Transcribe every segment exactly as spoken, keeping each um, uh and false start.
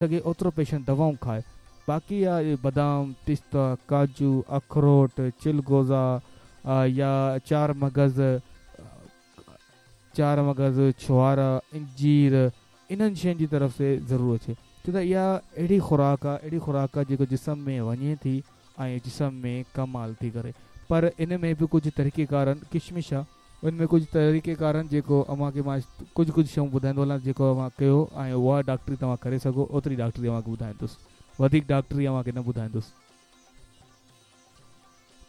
سگهي اوترو پيشنٽ دوائون کائي. باقي آهي بادام، پستا، ڪاجو، اخروٽ، چلغوزا يا چار مغز چار مغز ڇوهارا، انجير، انهن شين جي طرف سي ضرور اچي، ڇو ته اها اهڙي خوراڪ آهي اهڙي خوراڪ آهي جيڪو جسم ۾ وڃي ٿي ۽ جسم ۾ ڪمال ٿي ڪري. پر ان ۾ به ڪجهه طريقيڪار آهن، ڪشمش آهي ان ۾ ڪجهه طريقيڪار آهن جيڪو اوهان کي مان ڪجهه ڪجهه شيون ٻڌائيندو هلان جيڪو اوهان ڪيو ۽ اها ڊاڪٽري توهان ڪري سگهو اوتري ڊاڪٽري اوهان کي ٻڌائيندس، وڌيڪ ڊاڪٽري اوهان کي نه ٻڌائيندس.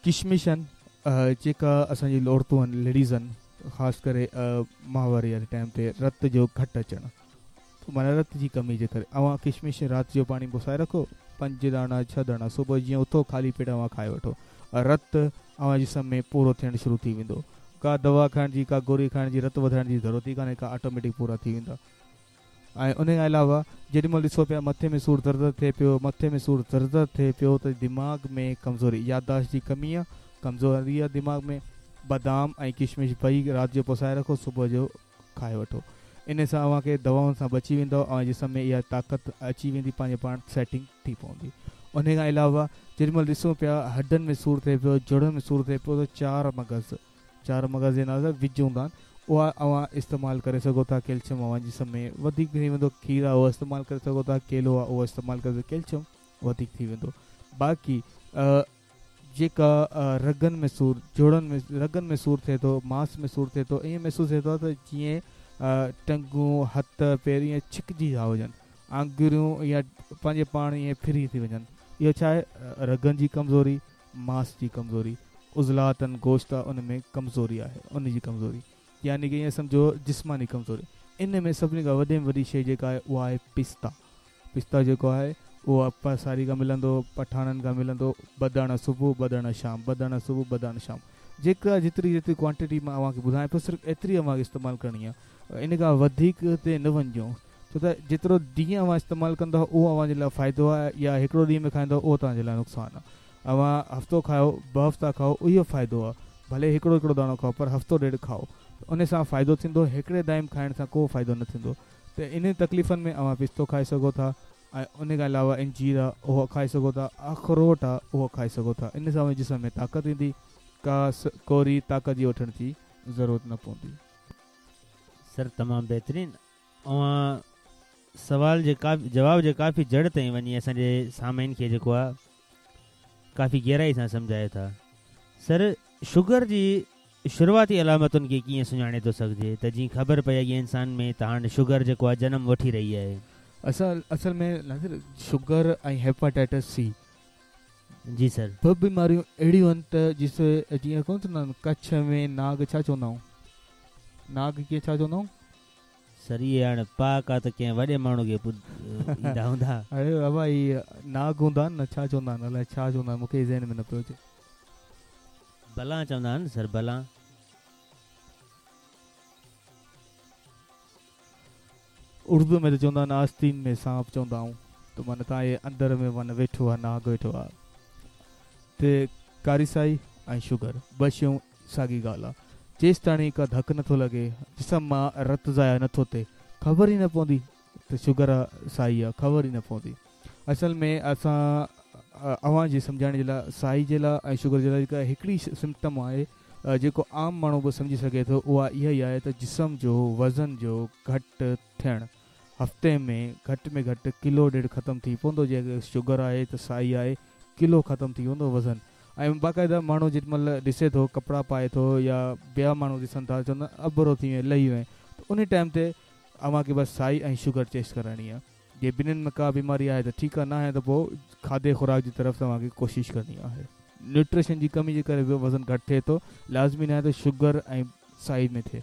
ڪشمش آهن جيڪا اسان جي عورتون آهن، ليڊيز آهن، خاص ڪري ماهواري واري ٽائيم تي رت جو گهٽ اچڻ معنيٰ رت جي ڪمي جي ڪري اوهان ڪشمش رات جو پاڻي پسائي رکو، پنج داڻا ڇهه داڻا صبح جيئن اٿو خالي پيٽ اوهان کائي وٺو، رت اوهان جسم ۾ پورو ٿيڻ شروع ٿي ويندو. ڪا دوا کائڻ جي ڪا گوري کائڻ جي رت وڌائڻ جي ضرورت ئي ڪانهي ڪا، آٽوميٽڪ پورا ٿي ويندا. ۽ ان کان علاوه جيڏي مهل ڏسو پيا مٿي ۾ سور درد ٿئي پيو، مٿي ۾ سور درد ٿئي پيو ته دماغ ۾ ڪمزوري، يادداشت جي ڪمي آهي، ڪمزوري آهي دماغ ۾، بادام ۽ ڪشمش ٻئي رات جو پسائي رکو، صبح جو کائي وٺو. ان سان اوهان کي دوائن سان بچي ويندو ۽ جسم ۾ اها طاقت اچي ويندي، پنهنجي پاڻ سيٽنگ ٿي پوندي. ان کان علاوه جيڏي مهل ڏسون پيا هڏن ۾ سور ٿئي پيو، جوڙن ۾ سور ٿئي پيو ته چار مغز، چار مغز جي نالي سان وج هوندا آهن، اها اوهان استعمال ڪري سگهو ٿا. ڪيلشيم اوهان جسم ۾ وڌيڪ ٿي ويندو. کير آهي اهو استعمال ڪري سگهو ٿا، ڪيلو آهي اهو استعمال ڪري سگهو، ڪيلشيم وڌيڪ ٿي ويندو. باقي جيڪا رڳن ۾ سور، جوڙن ۾ رڳن ۾ سور ٿئي ٿو، ماس ۾ سور ٿئي ٿو، ائين محسوس ٿئي ٿو ته جيئن ٽنگون، هٿ، پير ائين ڇڪجي ويا هجن، آڱريون يا پنهنجي پاڻ ائين ڦري ٿي وڃن. اهو ڇا آهي؟ رڳن جي ڪمزوري، ماس جي ڪمزوري، عضلات آهن، گوشت آهي، ان ۾ ڪمزوري آهي، ان جي ڪمزوري يعني ڪه ائين سمجهو جسماني ڪمزوري. ان ۾ سڀني کان وڏي ۾ وڏي شيء جيڪا آهي اها آهي پستا. پستا جيڪو آهي اهو پاساري کان ملندو، پٺاڻن کان ملندو، ٻه داڻا صبح ٻه داڻا شام، ٻه داڻا صبح ٻه داڻا شام. جيڪا جيتري جيتري ڪوانٽٽي مان اوهان کي ٻڌايان پيو صرف ايتري اوهان کي استعمال ڪرڻي آهي، ان کان وڌيڪ تي نه وڃجو، ڇو ته جيترو ڏينهن اوهان استعمال ڪندؤ اهو اوهان جي لاءِ فائدو آهي، يا هڪڙو ڏينهن ۾ کائيندؤ اهو توهان جي لاءِ نقصان آهي. اوهان هفتو کايو، ٻه هفتا کائو، اهو فائدو آهي، ڀلي هڪڙو هڪڙو داڻو کائو پر هفتو ڏيڍ کائو، ان سان فائدو ٿيندو. هڪڙي دائم کائڻ سان ڪو فائدو نه ٿيندو. ته ان تڪليفن ۾ اوهان پستو کائي سگهو ٿا ۽ ان کان علاوه انجير آهي اهو کائي سگهو ٿا، اخروٽ آهي اهو کائي سگهو ٿا. ان سان اوهان جي جسم ۾ طاقت ايندي، ڪا ڪوري طاقت جي وٺڻ جي ضرورت نه پوندي. سر تمام بهترين، اوهان سوال جي ڪافي جواب جي ڪافي جڙ تائين وڃي اسان جي سامعين کي جيڪو آهي ڪافي گهرائي سان سمجهايو ٿا. سر شگر جي شروعاتي علامتن کي ڪيئن سڃاڻي ٿو سگهجي ته جيئن خبر پئي اڳي انسان ۾ ته هاڻي شگر جيڪو آهي جنم وٺي رهي آهي؟ اصل اصل ۾ ناصر شگر ۽ هيپاٽائٽس سي جي سر ٻه بيماريون اهڙيون آهن ته جس جيئن ڪونه چوندا آهن ڪڇ ۾ ناگ ڇا چوندا آهيون، ناگ ڪيئن ڇا چوندا آهيون؟ سر اهي هاڻي پاڪ آهي ته ڪنهن وڏي ماڻهو کي ايندا هوندا. اڙي بابا اهي ناگ هوندا آهن نه، ڇا چوندا آهن الائي ڇا چوندا آهن، مون کي ذهن ۾ نه پيو اچي. بلان چوندا آهن سر، بلان. اردو ۾ ته چوندا آهن آستين ۾ سانپ چوندا آهيون، ته معنيٰ توهان جي اندر ۾ معنيٰ ويٺو آهي ناگ ويٺو آهي. ته ڪاري سائي ۽ شگر ٻه شيون ساڳي ڳالهه آهي. جيستاڻي ڪا ڌڪ نٿو لڳي، جسم مان رت ضايع نٿو ٿئي، خبر ئي نه پوندي ته شگر آهي سائي آهي، خبر ئي نه پوندي. اصل ۾ اسان اوهان جي سمجهائڻ جي لاءِ سائي جي لاءِ ۽ شگر جي لاءِ جيڪا هڪڙي سمپٽم آهي جيڪو عام ماڻهو به سمجهي سگهي ٿو اها اها ئي آهي ته جسم جو وزن جو گهٽ ٿيڻ، هفتي ۾ گهٽ ۾ گهٽ ڪلو ڏيڍ ختم ٿي پوندو. جي شگر آهي ته سائي آهي، ڪلو ختم ٿي ويندو وزن. ۽ باقاعده ماڻهو جيڏي مهل ڏسي ٿو ڪپڙا پائي ٿو يا ٻيا ماڻهو ڏسن ٿا چوندا اڀرو ٿي وئين لهي وئين، ته ان ٽائيم تي اوهان کي بس سائي ۽ شگر ٽيسٽ ڪرائڻي آهي. جي ٻنهن ۾ ڪا بيماري آهي ته ٺيڪ آهي، نه آهي ته پوءِ کاڌي خوراڪ جي طرف توهان کي ڪوشش ڪرڻي آهي. نيوٽريشن جي ڪمي جي ڪري به وزن گهٽ ٿئي ٿو، لازمي نه آهي ته شگر ۽ سائي ۾ ٿئي.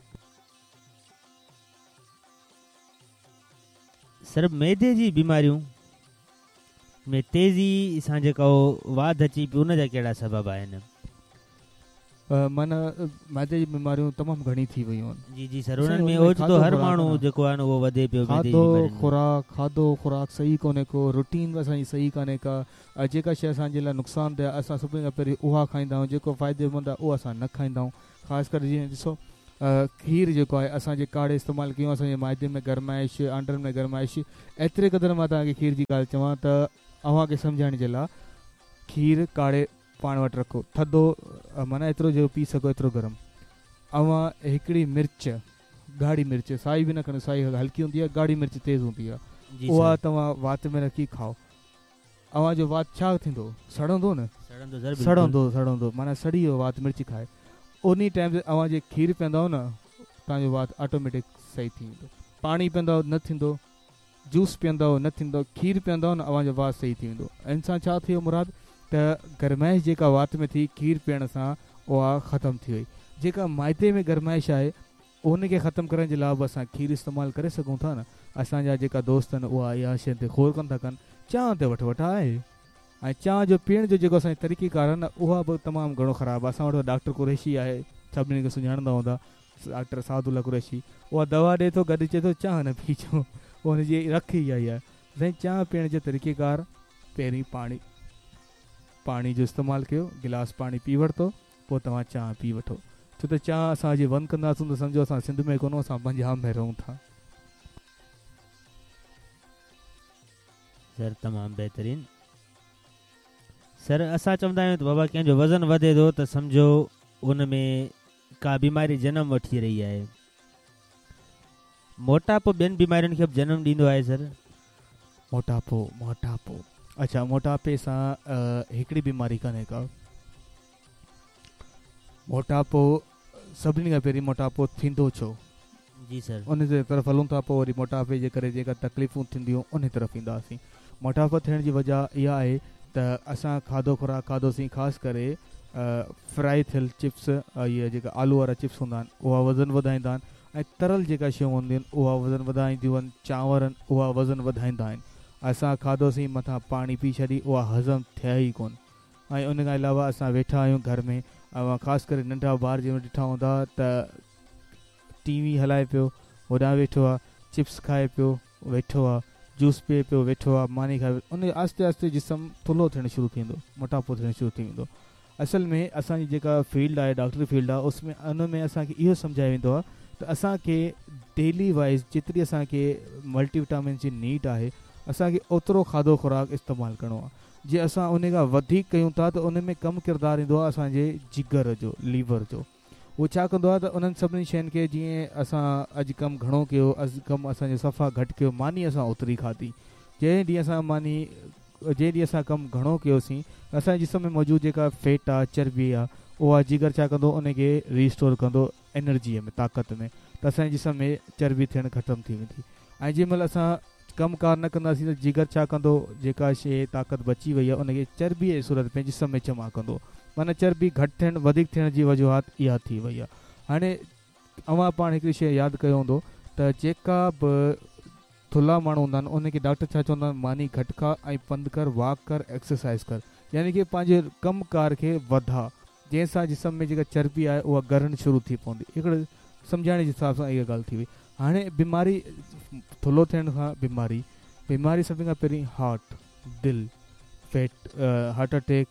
سر معدي جي بيماريون ۾ تيزي سان جيڪا واڌ اچي پئي ان جا ڪهڙا سبب آهن؟ معنيٰ معدي جي بيماريون تمام گهڻي ٿي ويون آهن. جي جي سر، انهن ۾ اوچتو هر ماڻهو جيڪو آهي نه اهو وڌي پيو. کاڌو خوراڪ کاڌو خوراڪ صحيح ڪونهي ڪو، روٽين به اسان جي صحيح ڪانهي ڪا، جيڪا شيءِ اسان جي لاءِ نقصان ده آهي اسان سڀني کان پهرين اها کائيندا آهيون، جيڪو فائديمند آهي اهو اسان نه کائيندا آهيون. خاص ڪري جيئن ڏسو کير جيڪو آهي اسان جي ڪاڙهي استعمال ڪيون، اسان جي معدي ۾ گرمائش، آنڊن ۾ گرمائش. ايتري قدر مان توهان کي کير جي ڳالهه چوان ته اوهان کي سمجهائڻ جي لاءِ کير ڪاڙهي پاڻ وٽ رکو، ٿڌو معنيٰ ايترو جو پي سگهو ايترو گرم. اوهان هڪڙي مرچ، ڳاڙهي مرچ، سائي به نه کڻو، سائي هلڪي هوندي آهي، ڳاڙهي مرچ تيز هوندي آهي، اها توهان وات ۾ رکي کائو. اوهان جو وات ڇا ٿيندو؟ سڙندو نه، سڙندو سڙندو معنيٰ سڙي ويو وات مرچ کائي. ان ٽائيم تي اوهان جي کير پيئندؤ نه، توهان جو وات آٽوميٽڪ صحيح ٿي ويندو. پاڻي پيئندؤ نه ٿيندو، جوس پيئندؤ نه ٿيندو، کير پيئندؤ نه اوهان جو وات صحيح ٿي ويندو. انسان ڇا ٿي ويو مراد ته گرمائش جيڪا وات ۾ ٿي کير پيئڻ سان اها ختم ٿي وئي. جيڪا معدي ۾ گرمائش آهي ان کي ختم ڪرڻ جي لاءِ به اسان کير استعمال ڪري سگهون ٿا نه. اسان جا جيڪا دوست آهن اها اها شيءِ تي غور ڪونه ٿا ڪن. چانهه تي وٺ وٺ آهي ۽ چانهه جو پيئڻ جو جيڪو اسان جو طريقيڪار آهي نه اها به تمام گهڻو خراب آهي. اسان وٽ ڊاڪٽر قريشي آهي، سڀني کي سڃاڻندا هوندا، ڊاڪٽر سعد الله قريشي، اها دوا ڏئي ٿو گڏ چئي ٿو چانهه نه پيئجو، هن جي رک ئي آئي آهي. سائين چانهه پيئڻ جو طريقيڪار پهرين پاڻي پاڻي جو استعمال ڪيو، گلاس پاڻي پي ورتو، پوءِ توهان چانهه پي وٺو. ڇو ته چانهه اسان جي بند ڪنداسين ته سمجهو اسان سنڌ ۾ ڪونه، اسان پنجاب ۾ رهون ٿا. سر تمام بهترين. سر اسان چوندا آهيون ته بابا ڪنهن جو وزن وڌي ٿو ته سمجهو ان ۾ ڪا بيماري جنم وٺي رهي آهي. موٽاپو ٻين بيمارين کي به جنم ڏيندو آهي سر؟ موٽاپو موٽاپو اڇا، موٽاپي سان هڪڙي بيماري ڪانهي ڪا. موٽاپو سڀني کان پهرين موٽاپو ٿيندو ڇو؟ جي سر، ان جي طرف هلون ٿا، پوءِ وري موٽاپي جي ڪري جيڪا تڪليفون ٿينديون ان طرف اينداسين. موٽاپو ٿيڻ جي وجهه اها آهي ته اسان کاڌو خوراڪ کاڌوسين، خاص ڪري فرائي ٿيل چپس، اهي جيڪا آلو وارا چپس هوندا آهن اها وزن وڌائيندا آهن، ۽ ترل جيڪا شيون هونديون آهن اها وزن وڌائينديون آهن، چانور آهن اها وزن وڌائيندا آهن. اسان کاڌوسين مٿان پاڻي پي ڇڏي، اها هضم ٿئي ئي ڪونه. ۽ ان کان علاوه اسان ويٺا آهيون گهر ۾ ۽ خاص ڪري ننڍا ٻار جنهن ڏٺا هوندا ته ٽي وي هلائي پيو، هوڏانهن ويٺو آهي، چپس کائي پيو ويٺو آهي، جوس پيئي پيو ويٺو آهي، ماني کائي پيو، ان آهستي آهستي جسم ٿلهو ٿيڻ شروع ٿي ويندو، موٽاپو ٿيڻ شروع ٿي ويندو. اصل ۾ اسان جي جيڪا فيلڊ آهي ڊاڪٽري فيلڊ آهي، اس ۾ ان ۾ اسان کي اهو سمجهايو ويندو آهي ته اسان کي ڊيلي وائيز جيتري اسان کي ملٽي وٽامن جي نيڊ آهي اسان کي اوترو کاڌو خوراڪ استعمال ڪرڻو آهي. جي اسان ان کان وڌيڪ ڪيون ٿا ته ان ۾ ڪم ڪردار ايندو آهي اسان جي جگر جو، ليور جو. اهو ڇا ڪندو آهي ته انهن سڀني شين کي جيئن اسان اڄ ڪم گهڻو ڪيو، اڄ ڪم اسان جو صفا گهٽ ڪيو، ماني اسان اوتري کاڌي، جنهن ڏينهن اسان ماني جنهن ڏينهن اسان ڪم گهڻو ڪيوسين اسان جي جسم ۾ موجود جيڪا فيٽ آهي، چرٻي آهي، اها جگر ڇا ڪندو ان کي ريسٽور ڪندو انرجيءَ ۾ طاقت ۾ ته اسان جي جسم ۾ چرٻي ٿيڻ ختم ٿي ويندي. ۽ جنهن مهل اسان ڪم ڪار نه ڪنداسين ته جگر ڇا ڪندو، جيڪا شيءِ طاقت بچي وئي آهي ان کي چرٻيءَ جي صورت ۾ جسم ۾ جمع ڪندو. معنيٰ چرٻي گهٽ ٿيڻ وڌيڪ ٿيڻ جي وجوهات اها ٿي وئي آهي. هاڻي اوهان پاڻ هڪڙي شيءِ ياد ڪيو هوندو ته جيڪا به ٿلها ماڻهو هوندا آهن ان کي ڊاڪٽر ڇا چوندا آهن، ماني گهٽ کا ۽ پنڌ ڪر، واڪ ڪر، ايڪسرسائز ڪر، يعني ڪه پنهنجي ڪم ڪار کي وڌاءُ، جنهن سان جسم ۾ جيڪا چرٻي آهي اها ڳرڻ شروع ٿي پوندي. هڪڙو سمجهائڻ جي حساب سان اها ڳالهه ٿي وئي. هاڻي بيماري ٿلهو ٿيڻ کان بيماري بيماري سڀني کان پهرين هارٽ، دل، فيٽ، هارٽ اٽيڪ،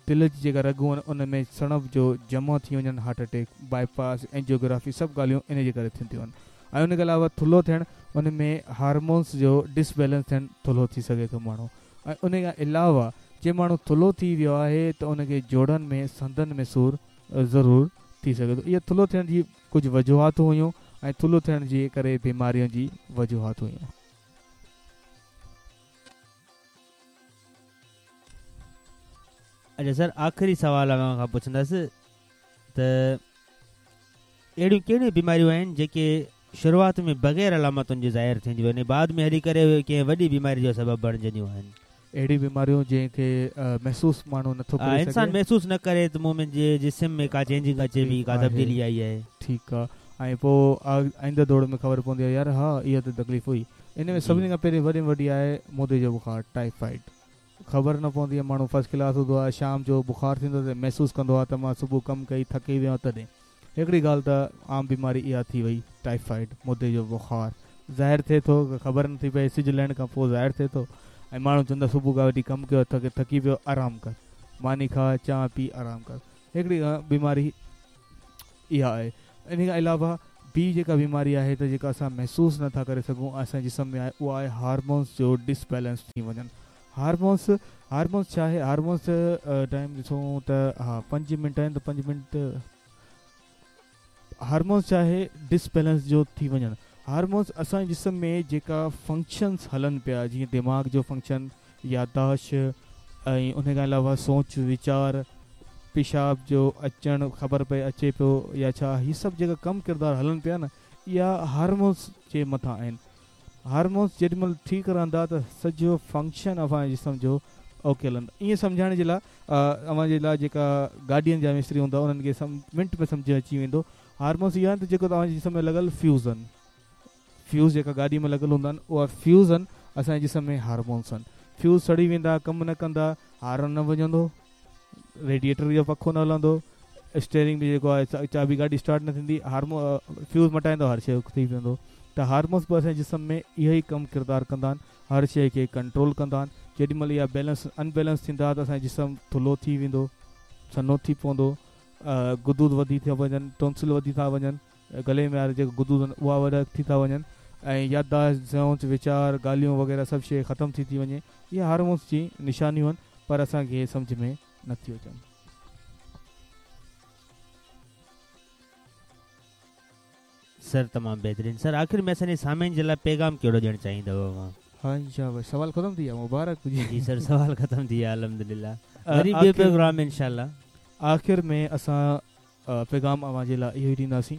دل جي جيڪا رڳون آهن ان ۾ سڻڀ جو جمع ٿي وڃن، heart attack, bypass, angiography, سڀ ڳالهيون ان جي ڪري ٿينديون آهن. ۽ ان کان علاوه ٿلهو ٿيڻ، ان ۾ هارمونس جو ڊسبيلنس ٿيڻ، ٿلهو ٿي سگهي ٿو ماڻهو. ۽ ان کان علاوه جي ماڻهو ٿلهو ٿي ويو آهي ته ان کي جوڙن ۾ سنڌن ۾ سور ضرور ٿي سگهي ٿو. اها ٿلهو ٿيڻ جي ڪجهه وجوهات هيون ۽ ٿلهو ٿيڻ جي ڪري بيمارين جي وجوهات هيون. اڇا سر، آخري سوال اوهان کان پڇندس ته اهڙيون ڪهڙيون بيماريون آهن جيڪي شروعات ۾ بغير علامتن جي ظاهر ٿينديون آهن ۽ بعد ۾ هلي ڪري ڪنهن وڏي بيماري جو سبب بڻجنديون آهن؟ اهڙي بيماريون جنهن کي محسوس ماڻهو نٿو ڪري سگهي، انسان محسوس نه ڪري ته مون ۾ جسم ۾ ڪا چينجنگ اچي پئي، ڪا تبديلي آئي آهي. ٺيڪ آهي. ۽ پوءِ آئيندڙ دور ۾ خبر پوندي آهي يار ها اها ته تڪليف هئي. ان ۾ سڀني کان پهرين وڏي ۾ وڏي آهي مودي جو بخار، ٽائيفائيڊ. خبر نه پوندي آهي، ماڻهو فرسٽ ڪلاس هوندو آهي، شام جو بخار ٿيندو ته محسوس ڪندو آهي ته مان صبح ڪم ڪئي ٿڪي ويو آهيان. تڏهن هڪڙي ڳالهه ته عام بيماري اها ٿي وئي ٽائيفائيڊ، مودي جو بخار ظاهر ٿئي ٿو، خبر نٿي پئي، سج لهڻ کان پوءِ ظاهر ٿئي ٿو ۽ ماڻهو چوندا صبح کان وٺي ڪم ڪيو ٿڪ ٿڪي پيو، آرام ڪر، ماني کا، چانهه پي، آرام ڪر. هڪڙي بيماري اها آهي. इन खां अलावा ॿी जेका बीमारी आहे त जेका असां महसूसु नथा करे सघूं असांजे जिस्म में आहे, उहा आहे हार्मोन्स जो डिसबैलेंस थी वञनि। हार्मोन्स हार्मोन्स छा आहे? हार्मोन्स टाइम ॾिसूं त हा पंज मिंट आहिनि त पंज मिंट। हार्मोन्स छा आहे? डिसबैलेंस जो थी वञनि। हार्मोन्स असांजे जिस्म में जेका फंक्शन्स हलनि पिया, जीअं दिमाग़ जो फंक्शन, यादाश्त ऐं उन खां अलावा सोच वीचार, पेशाब जो अचणु, ख़बर पए अचे पियो या छा, हीअ सभु जेका कमु किरदार हलनि पिया न, इहा हार्मोन्स जे मथां आहिनि। हार्मोन्स जेॾी महिल ठीकु रहंदा त सॼो फंक्शन असांजे जिस्म जो ओके हलंदो। ईअं सम्झाइण जे लाइ अव्हां जे लाइ जेका गाॾियुनि जा मिस्त्री हूंदा उन्हनि खे मिंट में सम्झ अची वेंदो। हार्मोन्स इहा आहिनि त जेको तव्हांजे जिस्म में लॻल फ्यूज़ आहिनि, फ्यूज़ जेका गाॾी में लॻल हूंदा आहिनि उहा फ्यूज़ आहिनि असांजे जिस्म में हार्मोन्स आहिनि। फ्यूज़ सड़ी वेंदा, कमु न कंदा, हार्न न वॼंदो, रेडिएटर जो पखो न हलंदो, स्टेयरिंग बि जेको आहे चाबी गाॾी स्टार्ट न थींदी, हार्मो फ्यूज़ मटाईंदो हर शइ थी वेंदो। त हार्मोन्स बि असांजे जिस्म में इहो ई कमु किरदारु कंदा आहिनि, हर शइ खे कंट्रोल कंदा आहिनि। जेॾी महिल इहा बैलेंस अनबैलेंस थींदा त असांजो जिस्म थुल्हो थी वेंदो, सनो थी पवंदो, गुदूद वधी था वञनि, टॉन्सिल वधी था वञनि, गले में वारा जेका गुदूद आहिनि उहा वॾा थी था वञनि ऐं यादाश्त, सोच वीचार, ॻाल्हियूं वग़ैरह सभु शइ ख़तमु थी थी वञे। इहा हार्मोन्स जी निशानियूं आहिनि, पर असांखे सम्झ में नथियूं अचनि। सर तमामु बहितरीन। सर आख़िर में असांजे सामीन जे लाइ पैगाम कहिड़ो ॾियणु चाहींदव अव्हां? हा इंशाअल्लाह। सवाल ख़तमु थी विया, मुबारक हुजे। जी सर सवाल ख़तमु थी विया अल्हम्दुलिल्लाह। वरी ॿियो प्रोग्राम इंशाअल्लाह। आख़िर में असां पैगाम अव्हां जे लाइ इहो ई ॾींदासीं।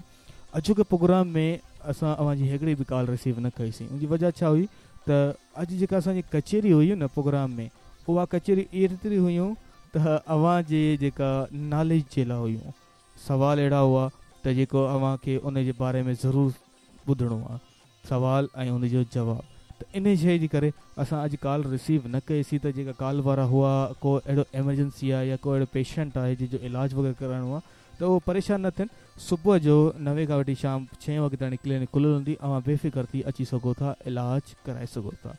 अॼोके प्रोग्राम में असां अव्हांजी हिकिड़ी बि कॉल रिसीव न कईसीं। उनजी वजह छा हुई त अॼु जेका असांजी कचेरी हुई न प्रोग्राम में, उहा कचेरी एतिरी हुयूं त अव्हांजे जेका नॉलेज जे लाइ हुयूं। सवाल अहिड़ा हुआ त जेको अव्हांखे उन जे बारे में ज़रूरु ॿुधणो आहे, सवाल ऐं उनजो जवाबु। त इन शइ जे करे असां अॼु कॉल रिसीव न कईसीं त जेका कॉल वारा हुआ, को अहिड़ो एमरजेंसी आहे या को अहिड़ो पेशेंट आहे जंहिंजो इलाज वग़ैरह कराइणो आहे त उहो परेशान न थियनि। सुबुह जो नवे खां वठी शाम छह वॻे ताईं क्लिनिक खुलियल हूंदी, अव्हां बेफ़िक्र थी अची सघो था, इलाज कराए सघो था,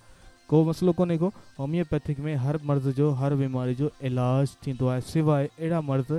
को मसइलो कोन्हे को। होमियोपैथिक में हर मर्ज़ जो, हर बीमारी जो इलाज थींदो आहे, सिवाइ अहिड़ा मर्ज़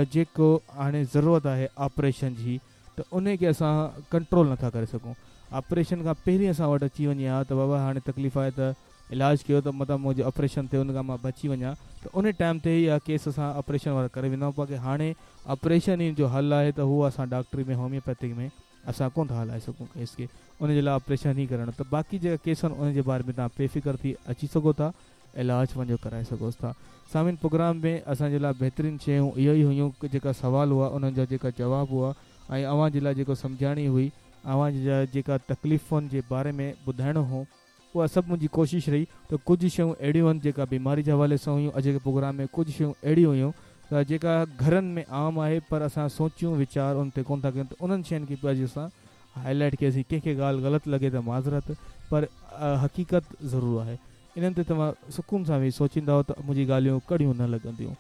जेको हाणे ज़रूरत आहे ऑपरेशन जी, त उन खे असां कंट्रोल नथा करे सघूं। ऑपरेशन खां पहिरीं असां वटि अची वञे हा त बाबा हाणे तकलीफ़ आहे त इलाज कयो त मतां मुंहिंजो ऑपरेशन थिए उन खां मां बची वञा, त उन टाइम ते इहा केस असां ऑपरेशन वारा करे वेंदा आहियूं। बाक़ी हाणे ऑपरेशन ई जो हल आहे त उहो असां डॉक्टरी में होमियोपैथिक में असां कोन था हलाए सघूं केस खे, उन जे लाइ ऑपरेशन ई करणु। त बाक़ी जेका केस आहिनि उन जे बारे में तव्हां बेफ़िक्र थी अची सघो था, इलाज पंहिंजो कराए सघो था। सामिन प्रोग्राम में असांजे लाइ बहितरीन शयूं इहो ई हुयूं, जेका सवाल हुआ उन्हनि जा जेका जवाब हुआ ऐं अव्हां जे लाइ जेको सम्झाणी हुई, अव्हां जा जेका तकलीफ़ुनि जे बारे में ॿुधाइणो हो, उहा सभु मुंहिंजी कोशिशि रही। त कुझु शयूं अहिड़ियूं आहिनि जेका बीमारी जे हवाले सां हुयूं, अॼु जे प्रोग्राम में कुझु शयूं अहिड़ियूं हुयूं त जेका घरनि में आम आहे पर असां सोचूं वीचार उन ते कोन था कयूं, त उन्हनि शयुनि खे बि अॼु असां हाईलाइट कयोसीं। कंहिंखे ॻाल्हि ग़लति लॻे त माज़रत, पर हक़ीक़त ज़रूरु आहे। इन्हनि ते तव्हां सुकून सां वेही सोचींदव त मुंहिंजी ॻाल्हियूं कड़ियूं न लॻंदियूं।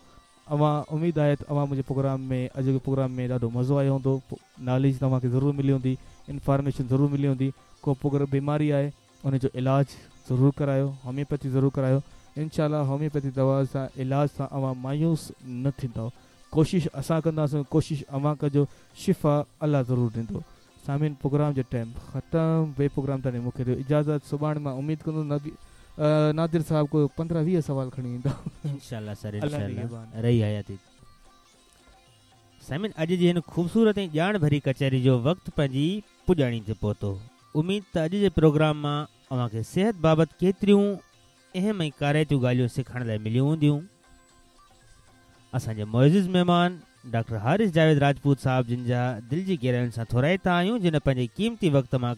अव्हां उमेद आहे त अव्हां मुंहिंजे प्रोग्राम में, अॼोके प्रोग्राम में ॾाढो मज़ो आयो हूंदो, नॉलेज तव्हांखे ज़रूरु मिली हूंदी, इन्फॉर्मेशन ज़रूरु मिली हूंदी। को प्रोग्राम बीमारी आहे उनजो इलाज ज़रूरु करायो, होमियोपैथी ज़रूरु करायो। इंशाअल्लाह होमियोपैथी दवा सां इलाज सां अव्हां मायूस न थींदव। कोशिशि असां कंदासीं, कोशिशि अव्हां कजो, शिफ़ा अलाह ज़रूरु ॾींदो। सामीन प्रोग्राम जो टाइम ख़तमु, ॿिए प्रोग्राम ताईं मूंखे ॾियो इजाज़त। सुभाणे मां उमेद कंदुमि नबी नादिर साहब को पंद्रहं वीह सवाल खणी ईंदा इंशाअल्लाह सर, इंशाअल्लाह रही हयाती। सामीन अॼु जी हिन ख़ूबसूरत ऐं ॼाण भरी कचहरी जो वक़्तु पंहिंजी पुॼाणी ते पहुतो। उमेद त अॼु जे प्रोग्राम मां अव्हांखे सिहत बाबति केतिरियूं अहम ऐं कारइतियूं ॻाल्हियूं सिखण लाइ मिलियूं हूंदियूं। असांजे मुअज़्ज़िज़ महिमान डॉक्टर हारिस जावेद राजपूत साहब जिन जा दिलि जी गहराइयुनि सां थोराइता आहियूं, जिन पंहिंजे क़ीमती वक़्त मां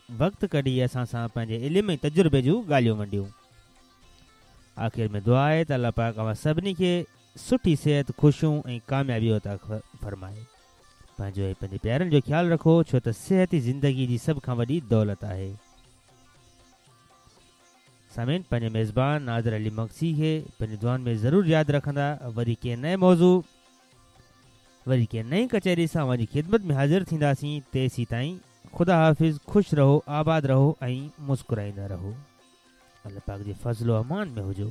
वक़्तु कढी असां सां पंहिंजे इल्म ऐं तजुर्बे जूं ॻाल्हियूं वंडियूं। आख़िर में दुआ आहे त अलाह पाक अव्हां सभिनी खे सुठी सिहत, ख़ुशियूं ऐं कामयाबी अता फरमाए। पंहिंजो ऐं पंहिंजे प्यारनि जो ख़्यालु रखो, छो त सिहत ई ज़िंदगी जी सभ खां वॾी दौलत आहे। सामीन पंहिंजे मेज़बान नादिर अली मक्सी खे पंहिंजी दुआनि में ज़रूरु यादि रखंदा। वरी कंहिं नए मौज़ू, वरी कंहिं नई कचहरी सां अव्हांजी ख़िदमत में हाज़िर थींदासीं। तेसीं ताईं ख़ुदा हाफ़िज़। ख़ुशि रहो, आबाद रहो ऐं मुस्कुराईंदा रहो। अलाह पाक जे फ़ज़लो अमान में हुजो।